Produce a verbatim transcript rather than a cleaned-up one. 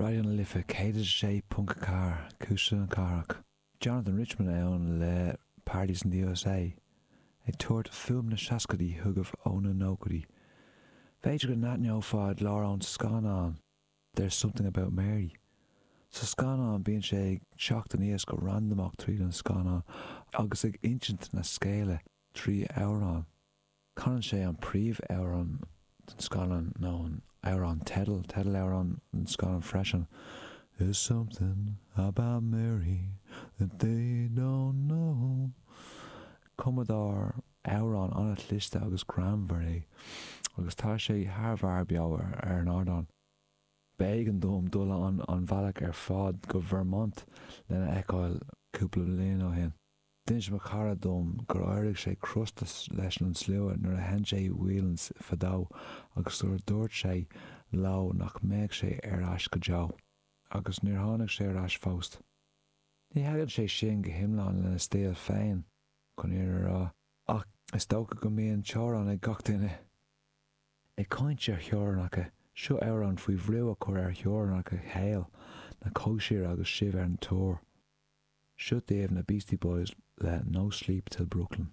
Raidió na Life céad a sé ponc a ceathair, Cuisle na Cathrach. Jonathan Richman ann le Party's in the USA, ag tabhairt fuaim na seascaidí chugaibh ó na nóchaidí. B'fhéidir go n-aithneofá a ghlór ón scannán There's Something About Mary. Sa scannán bíonn sé ag teacht aníos go randamach tríd an scannán agus ag insint na scéala trí amhrán. Canann sé an príomhamhrán den scannán nó an amhrán teidil, teideal-amhrán an scannán freisin. There's something about Mary that they don't know. Cumadóir amhrán an-chliste agus greannmhar é agus tá sé thar bharr beo ar an ardán. B'éigean dom dul an an bhealach ar fad go Vermont lena fheiceáil cúpla bliain ó shin. D'inis mo chara dom gur éirigh sé crosta leis an slua nuair a sheinn sé Whelan's fadó agus gur dúirt sé leo nach mbeadh sé ar ais go deo. Agus níor tháinig sé ar ais fós. Ní thagann sé sin go hiomlán lena stíl féin chun an fhírinne a rá, ach is dócha go mbíonn teorainn ag gach duine. Ag caint ar theorainneacha, seo amhrán faoi bhrú a chur ar theorainneacha shaol na cóisire agus sibh ar an tour. Seo daoibh na Beastie Boys le No Sleep Till Brooklyn.